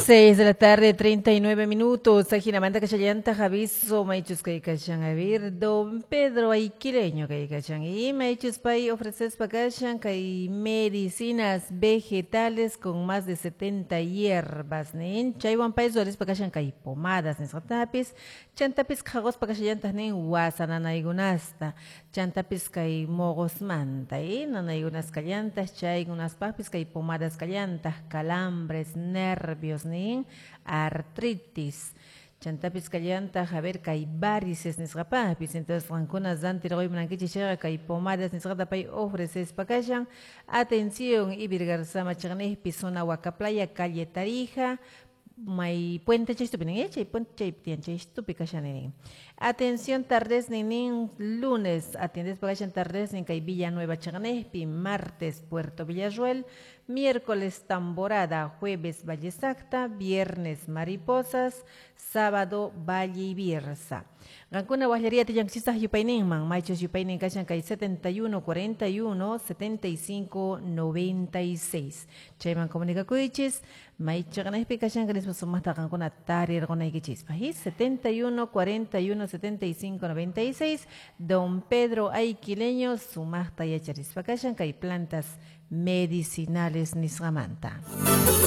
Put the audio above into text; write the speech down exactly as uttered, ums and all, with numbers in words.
Seis de la tarde, treinta y nueve minutos. Ajinamanta kashallanta aviso, maychus kaykashan, a ver, don Pedro Aiquileño kaykashan. Y maychus pay ofrecespa kashan, kay medicinas vegetales con más de setenta hierbas, nin. Chaywan pay ruwarispa kashan kay pomadas nisqatapis, chantapis qhaqospa kashallantaq nin wasa nanaykunasta, chantapis kay moqosmanta, y nanaykunas kallantaq, chaykunaspaqpis kay pomadas kallantaq, calambres, nervios, nin artritis, chantapis kallantaq, a ver, kay varices nisqapaqpis. Entonces qankuna rantirquy munankichis chayqa kay pomadas nisqata pay ofrecespa kashan. Atención, Ibirgarzama chaqniqpi, zona Huacaplaya, calle Tarija, may puente chaystupi nin, eh, chay puente chaypi tiyan, chaystupi kashan nin. Atención, tardes nin, lunes, atiendes kashan tardes nin kay Villanueva chaqniqpi, martes Puerto Villarruel, miércoles Tamborada, jueves Valle Sacta, viernes Mariposas, sábado Valle Ibirza. Qankuna waqllaria tillankichistaj yupayninman, maychus yupaynin kashan kay setenta y uno, cuarenta y uno, setenta y cinco, noventa y seis. Chayman comunicakuychis, maychaqnaypi kashan kanispa sumaqta qankuna tarirqunaykichispaq. Y setenta y uno, cuarenta y uno, setenta y cinco, noventa y seis, don Pedro Aiquileño sumaqta yacharispa kashan kay plantas medicinales nisqamanta.